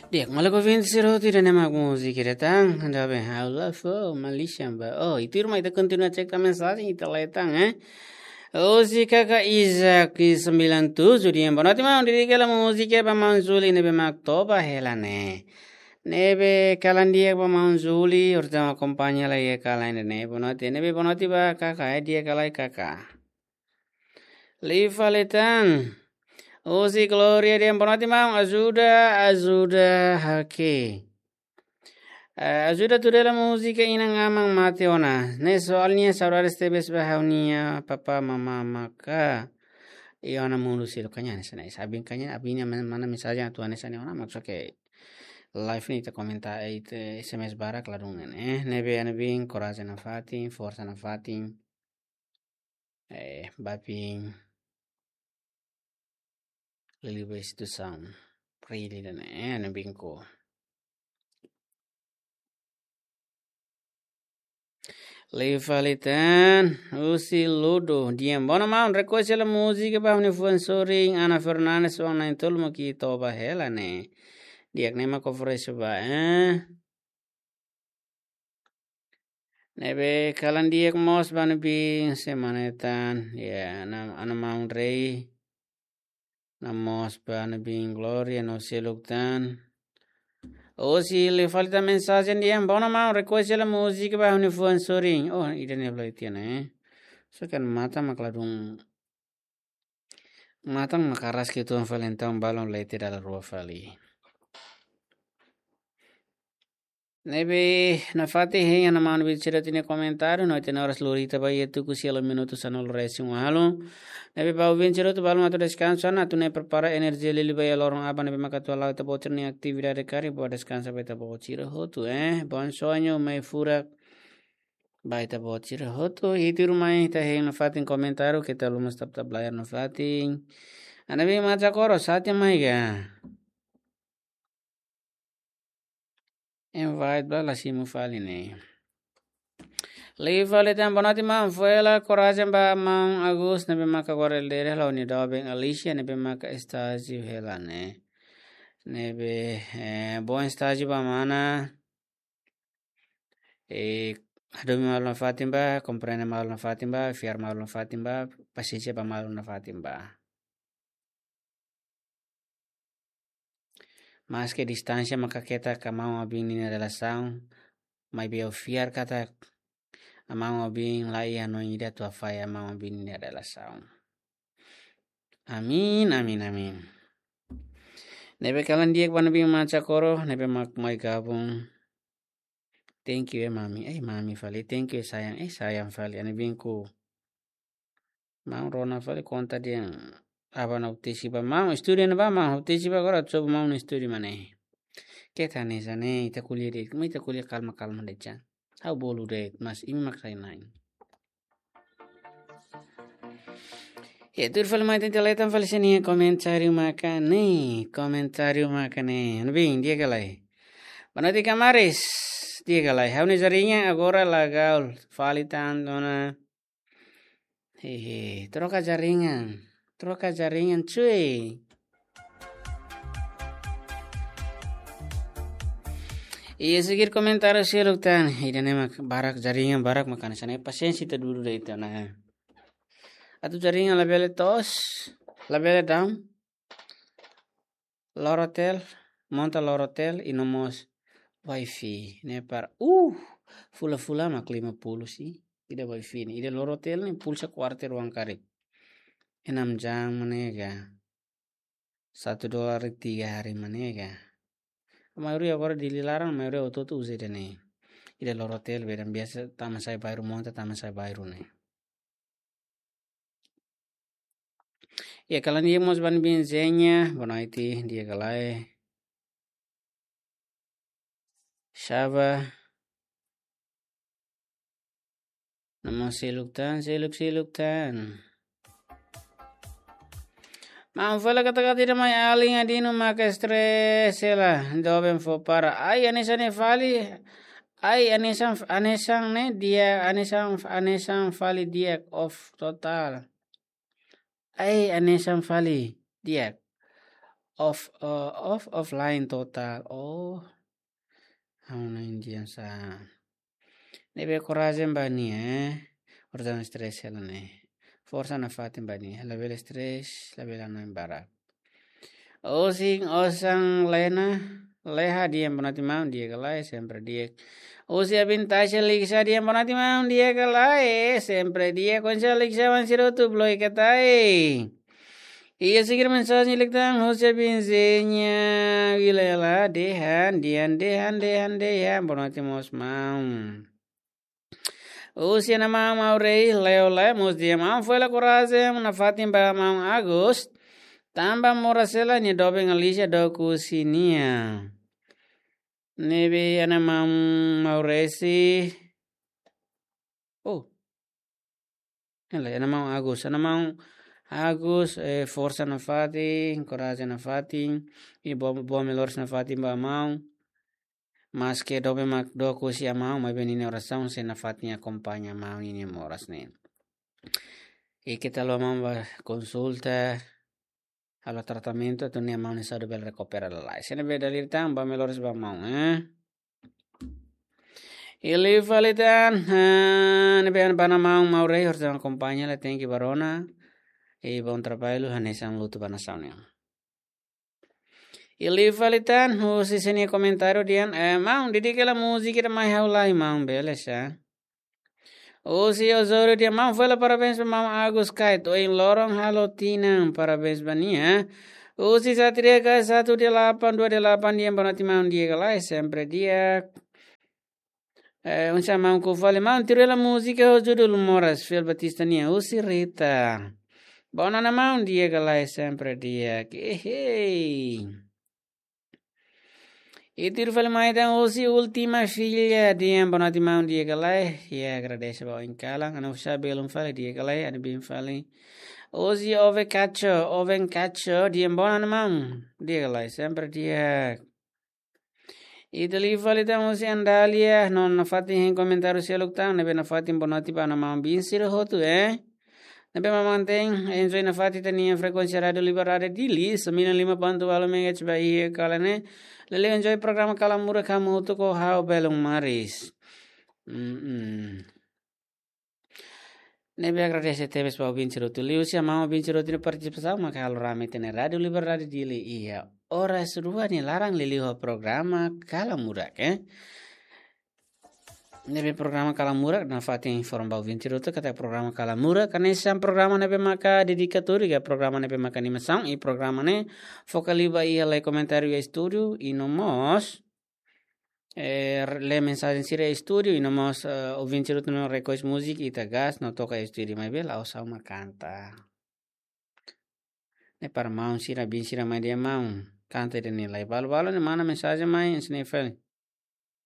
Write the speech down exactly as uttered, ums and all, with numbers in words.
Di'ak, maluk ouvinte sira hotu, ida-ne'e mak múzika ida tan, anda bem, halo fó, Malaysia ba. Oh, ita irma ita kontinua cek tan mensajen, ita lee tan, eh. Husi Kaka Isaac sembilan tujuh di'ak, bonoite maun, dedika hela múzika ba maun Zuli ne'ebé mak toba hela ne'e. Ne'ebé kalan di'ak ba maun Zuli, horta akompaña lai iha kalan ne'e, bonoite, ne'ebé bonoite ba Kaka, eh, di'ak ka lae Kaka. Liu fali tan. Husi Gloria di'ak, bonoite maun, ajuda, ajuda ha'u. Eh, ajuda tuda hela múzika Inan Aman Mate Ona. Ne'e soalnya saudades tebes ba ha'u-nia papá mamá maka. Iha ona mundu seluk, kaña hanesan ne'e. Abin kaña, abin mana mensajen atu hanesan ne'e ona, maksud ke live ne'e ita komentar, eh, ita S M S barak ladún ne'e. Ne'ebé ami-nia biin korajen nafatin, forsa nafatin. Eh, ba biin. Liuliu ba instituisaun. Prilly dan, eh, ami-nia biin ko. Liu fali tan, husi Ludo. Di'ak, bonoite maun, request hela múzika ba ha'u-nia fuan sorin, Ana Fernandes, oan na'in-tolu mak toba hela ne'e. Di'ak, ne'e mak oferese ba, eh. Ne'ebé kalan di'ak mós ba ami-nia biin semana ida tan, ya, Ana, Ana Maun Rei. Hamoos ba ami-nia biin Gloria no seluk tan. Husi liu fali tan mensajen di'ak, bonoite maun, request hela múzika ba ha'u-nia fuan sorin. Oh, ida-ne'e fali tiha ona, eh. So kan matan mak ladún. Matan mak karas ke tuan fali entaun balun lete dala rua fali. Ne'ebé nafatin hein Ana Maun Rei sira-nia komentáriu, no ita-nia oras lori ita ba iha tuku sia la minutu sanulu-resin-ualu. Ne'ebé ba ouvinte sira hotu balun atu deskansa ona, atu nune'e prepara enerjia liuliu ba iha loron aban ne'ebé maka atu hala'o ita-boot sira-nia atividade karik, boa deskansa ba ita-boot sira hotu, eh. Bom sonho, mai furak ba ita-boot sira hotu, ita irmai, ita hein nafatin komentáriu, keta haluha tap-tap layar nafatin. Ana Maun Macha Koro, sate mai ga. Invite ba la simu fali ne'e. Liu fali tan, bonoite maun, fó hela korajen ba maun Agus ne'ebé maka agora ele dere hela ho nia doben Alicia ne'ebé maka estájiu hela ne'e. Ne'ebé, eh, bom estájiu ba mana. Eh, hadomi malu nafatin ba, komprende malu nafatin ba, fiar malu nafatin ba, pasiénsia ba malu nafatin ba. Maske distánsia maka keta ka maun ho biin nia relasaun, maibé ha'u fiar katak maun ho biin la iha hanoin ida atu hafahe maun ho biin nia relasaun. Amin, amin, amin. Ne'ebé kalan di'ak ba Ana Maun Macha Koro, ne'ebé mak mai gabung. Thank you, eh, mami. Eh, mami fali. Thank you, eh, sayang. Eh, sayang fali. Ana Maun Rei. Maun rona fali konta de'it. Aban ha'u tesi ba maun, estúdiu ne'ebá maun, ha'u tesi ba agora, sobu maun estúdiu mak ne'e. Keta hanesan ne'e, ita ko'alia de'it, ita ko'alia kalma-kalma de'it. Ha'u bolu de'it, mas imi mak sai nain. Ya, tuir fali mai ita lee tan fali sira-nia komentáriu maka ne'e, komentáriu maka ne'e. Ana Maun, di'ak ka lae? Bonoite Kamaris, di'ak ka lae? Ha'u-nia jaringan agora la gaul fali tan ona. Hehe, troka jaringan. Troka jaringan, cuy. Iha seguir komentáriu seluk tan. Ida-ne'e mak barak jaringan, barak mak hanesan ne'e, pasiénsia ita dudu de'it ona. Atu jaringan labele toos, labele down. Lorotel, monta Lorotel i no mós wifi ne'e para, uh, fulan-fulan mak lima puluh sih. Ida wifi ne'e, ida Lorotel ne'e pulsa kuarter uang karik enam jam mak ne'e ka. Satu dolar tiga hari mak ne'e ka. Maioria agora Dili laran, maioria hotu-hotu uza ida-ne'e. Ida Lorotel, beda biasa tama sai bairru, monta tama sai bairru ne'e. Ya, kalan di'ak mós ba Ana Maun Zenya, bonoite, di'ak ka lae? Shaba. Nama seluk tan, seluk, seluk tan. Maun, fó hela kata-kata ida mai alin Adino maka stress hela, doben fó para. Ai, hanesan ne'e fali. Ai, hanesan, hanesan ne'e di'ak, hanesan, hanesan fali di'ak, off total. Ai, hanesan fali di'ak. off, eh, off, offline total. Oh, ha'u-nia Indian sa. Ne'ebé korajen ba nia, eh. Orsida stress hela ne'e. Forsa nafatin ba nia. Labele stress, labele hanoin barak. Osin, osan Lena, Leha di'ak, boa noite maun, di'ak ka lae, sempre di'ak. Husi Abin Tasha Liksa di'ak, boa noite maun, di'ak ka lae, sempre di'ak, konsa Liksa wan sirotu bloi katai. Iha seguir mensajen liután, husi Abin Zeña, Vilela, dehan, di'ak, dehan, dehan, dehan, boa noite mós maun. Husi Ana Maun Maurei, Leo Lemos, di'ak maun, fó hela korajen nafatin ba maun Agus. Tanba moras hela nia doben Alicia dook husi nia. Ne'ebé Ana Maun Maurei si. Oh. Hela, Ana Maun Agus, Ana Maun Agus, eh, forsa nafatin, korajen nafatin, i boa, boa melhoras nafatin ba maun. Maske doben mak dook husi maun, maibé ninia orasaun sei nafatin akompaña maun ninia moras ne'e. I keta haluha maun bá konsulta, halo tratamentu, atu nune'e maun nia saúde bele rekupera lalais. Ne'ebé dala ida tan, boa melhoras ba maun, eh. I liu fali tan, eh, ne'ebé ba Ana Maun Maurei, orsida akompaña, la tenke barona. I bom trabalho, hanesan lutu ba nasaun nian. I liu fali tan, husi sira-nia komentáriu dehan, eh, maun, dedika hela múzika ida mai ha'u lai, maun, bele sa. Husi Osório dehan, maun, fó hela parabéns ba maun Agus Kait, ohin loron halo tinan, parabéns ba nia. Husi Satria K satu delapan dua delapan dehan, boa noite maun, di'ak ka lae, sempre di'ak. Eh, oinsá maun, koko fali maun, tuir hela múzika ho judul Moras, Fiel Batista nian, husi Rita. Boa noite maun, di'ak ka lae, sempre di'ak. Ehei. I tuir fali mai tan husi Última Filha dehan, boa noite maun, di'ak ka lae. I agradese ba oin kalan, ha'u-nia oan sira belun fali, di'ak ka lae, ha'u-nia biin fali. Husi Oven Cacho, Oven Cacho dehan, boa noite maun, di'ak ka lae, sempre di'ak. I tuir fali tan husi Andalia, no nafatin hein komentáriu seluk tan, ne'ebé nafatin boa noite ba Ana Maun biin sira hotu, eh. Ne'ebé mak mantein enjoy nafatin ita-nia frekuénsia Rádiu Liberdade Dili, sembilan lima ponto walu megahertz ba iha kalan ne'e. Liuliu enjoy programa Kala Murak hamutuk ho ha'u Belun Maris. Mm-mm. Ne'ebé agradese tebes ba ouvinte sira hotu. Liuhusi maun ouvinte sira hotu nia partisipasaun, maka halo rame ita-nia Rádiu Liberdade Dili iha oras rua nia laran liuliu ho programa Kala Murak, eh. Ne'ebé programa Kala Murak, nafatin informa ba ouvinte sira hotu katak programa Kala Murak hanesan programa ne'ebé maka dedikatóriu, ka programa ne'ebé maka animasaun, i programa ne'e foka liu ba iha lee komentáriu iha estúdiu, i no mós, eh, lee mensajen sira iha estúdiu, i no mós, eh, ouvinte sira hotu no request múzika, ita gás no toka iha estúdiu, maibé la'ós ha'u mak kanta. Ne'e para maun sira, biin sira mai dehan maun, kanta ida-ne'e lai. Balu-balu ne'e manda mensajen mai, hanesan ne'e fali.